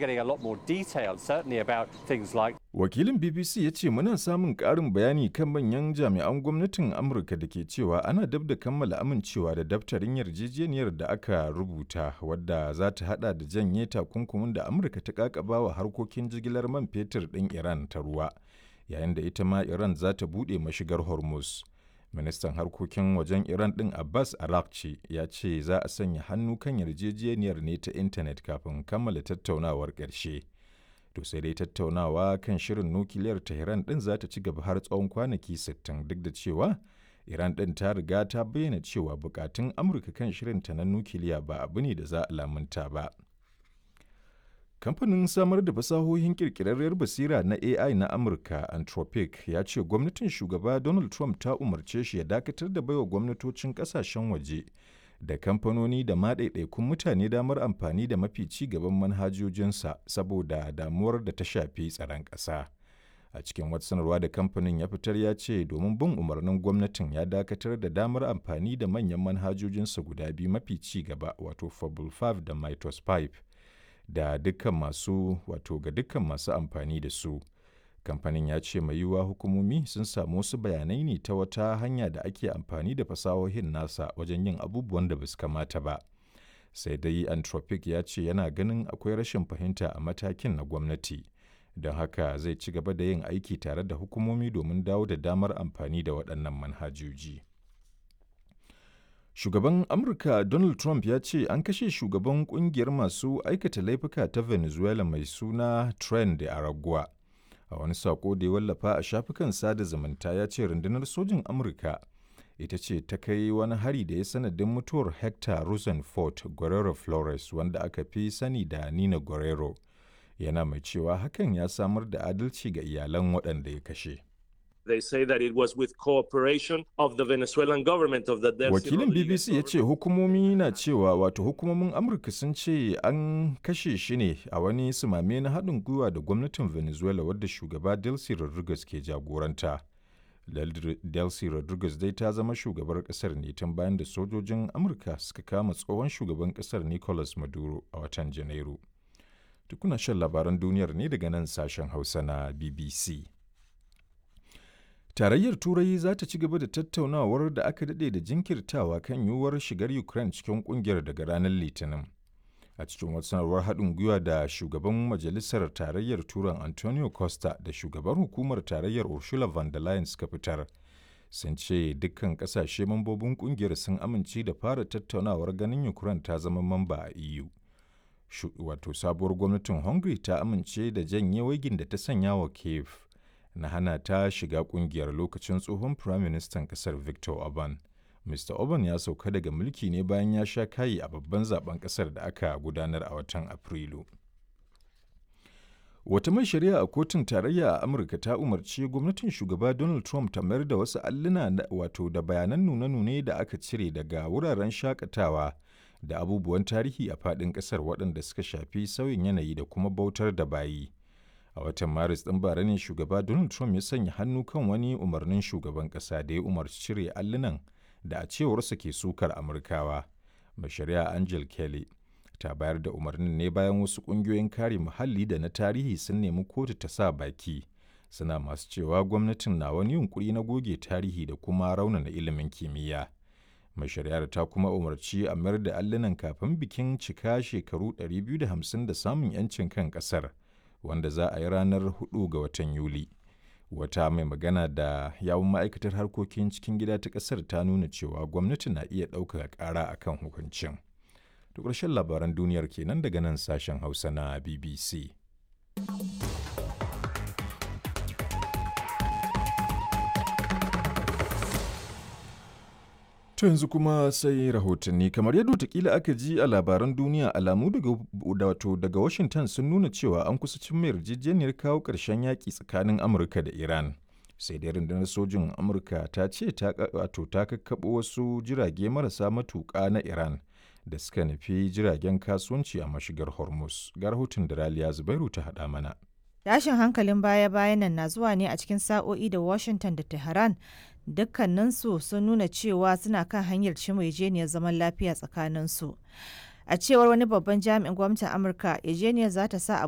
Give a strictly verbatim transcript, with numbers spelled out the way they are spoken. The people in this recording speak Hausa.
getting a lot more detail, certainly about things like Wakilin B B C ya ce muna samun ƙarin bayani kan manyan jami'an gwamnatin Amurka da ke cewa ana dab da kammala amincewa da daftarin yarjejeniyar da aka rubuta, wadda za ta hada da janye takunkumin da Amurka ta kakaba wa harkokin jigilar man fetur ɗin Iran ta ruwa, yayin da ita ma Iran za ta buɗe mashigar Hormuz. Ministan harkokin wajen Iran ɗin Abbas Araghchi ya ce za a sanya hannu kan yarjejeniyar ne ta intanet kafin kammala tattaunawar ƙarshe. To sai dai tattaunawa kan shirin nukiliyar Tehran ɗin za ta ci gaba har tsawon kwanaki sittin, duk da cewa Iran ɗin ta riga ta bayyana cewa bukatun Amurka kan shirinta na nukiliya ba abu ne da za a lamunta ba. Kamfanin samar da fasahohin ƙirƙirarriyar basira na A I na Amurka, Anthropic, ya ce gwamnatin shugaba Donald Trump ta umarce shi ya dakatar da baiwa gwamnatocin ƙasashen waje da kamfanoni da ma ɗaiɗaikun mutane damar amfani da mafi ci gaban manhajojinsa saboda damuwar da ta shafi tsaron ƙasa. A cikin wata sanarwa da kamfanin ya fitar, ya ce domin bin umarnin gwamnatin ya dakatar da damar amfani da manyan manhajojinsa guda biyu mafi ci gaba, wato Fable biyar da Mythos biyar, da dukkan masu wato ga dukkan masu amfani da su. Kamfanin ya ce mai yiwuwa hukumomi sun samu wasu bayanai ne ta wata hanya da ake amfani da fasahohin nasa wajen yin abubuwan da basu kamata ba. Sai dai Anthropic ya ce yana ganin akwai rashin fahimta a matakin na gwamnati, don haka zai ci gaba da yin aiki tare da hukumomi domin dawo da damar amfani da waɗannan manhajoji. Shugaban Amurka Donald Trump ya ce an kashe shugaban kungiyar masu aikata laifuka ta Venezuela mai suna Tren de Aragua. A wani sako da ya wallafa a shafukan sada zumunta, ya ce rundunar sojin Amurka ita ce ta kai wani hari da ya sanadin mutuwar Hector Rosenfort Guerrero Flores, wanda aka fi sani da Nina Guerrero. Yana mai cewa hakan ya samar da adalci ga iyalan waɗanda ya kashe. They say that it was with cooperation of the Venezuelan government of the Delcy Wakilin Rodriguez B B C ya ce hukumomi na cewa, wato hukumomin Amurka sun ce an kashe shi ne a wani sumame na haɗin gwiwa da gwamnatin Venezuela wadda shugaba Delcy Rodriguez ke jagoranta. Delcy Rodriguez dai ta zama shugabar ƙasar ne tun bayan da sojojin Amurka suka kama tsohon shugaban ƙasar Nicolas Maduro a watan Janairu. Tukuna shan labaran duniyar ne daga nan sashen Hausa na B B C. Tarayyar Turai za ta ci gaba da tattaunawar da aka daɗe da jinkirtawa kan yiwuwar shigar Ukraine cikin ƙungiyar daga ranar Litinin. A cikin wata sanarwar haɗin gwiwa da shugaban Majalisar Tarayyar Turan Antonio Costa da shugaban hukumar Tarayyar Ursula von der Leyen suka fitar, sun ce dukkan ƙasashe mambobin ƙungiyar sun amince da fara tattaunawar ganin Ukraine ta zama mamba a E U. Wato sabuwar gwamnatin Hungary ta amince da janye waigin da ta sanya wa Kiev na hana ta shiga kungiyar lokacin tsohon firaministan kasar Viktor Orban. Mister Orban ya sauka daga mulki ne bayan ya sha kayi a babban zaben kasar da aka gudanar a watan Afrilu. Wata mai shari'a a kotun tarayya a Amurka ta umarci gwamnatin shugaba Donald Trump ta mayar da wasu alluna, wato da bayanan nune-nune da aka cire daga wuraren shakatawa da abubuwan tarihi a faɗin ƙasar waɗanda suka shafi sauyin yanayi da kuma bautar da bayi. A watan Maris ɗin bara ne shugaba Donald Trump ya sanya hannu kan wani umarnin shugaban ƙasa da ya umarci cire allunan da a cewarsa ke sukar Amurkawa. Mai shari'a Angel Kelly ta bayar da umarnin ne bayan wasu ƙungiyoyin kare muhalli da na tarihi sun nemi kotu ta sa baki, suna masu cewa gwamnatin na wani yunkuri na goge tarihi da kuma raunana ilimin kimiyya. Mai shari'ar ta kuma umarci a mayar da allunan kafin bikin cika shekaru ɗari biyu da hamsin da samun 'yancin kan ƙasar, wanda za a yi ranar huɗu ga watan Yuli. Wata mai magana da yawun ma'aikatar harkokin cikin gida ta ƙasar ta nuna cewa gwamnati na iya ɗaukaka ƙara a kan hukuncin. To, ƙarshen labaran duniyar kenan daga nan sashen Hausa na B B C. To, yanzu kuma sai rahotanni. Kamar yadda watakila aka ji a labaran duniya, alamu daga wato daga Washington sun nuna cewa an kusa cimma yarjejeniyar kawo ƙarshen yaƙi tsakanin Amurka da Iran. Sai dai rundunar sojin Amurka ta ce ta wato ta kakkaɓo wasu jirage marasa matuƙa na Iran da suka nufi jiragen kasuwanci a mashigar Hormuz. Ga rahoton da Raliya Zubairu ta haɗa mana. Tashin hankalin baya-bayan nan na zuwa ne a cikin sa'o'i da Washington da Tehran dukkaninsu sun nuna cewa suna kan hanyar cimma yarjejeniyar zaman lafiya tsakaninsu. A cewar wani babban jami'in gwamnatin Amurka, yarjejeniyar za ta sa a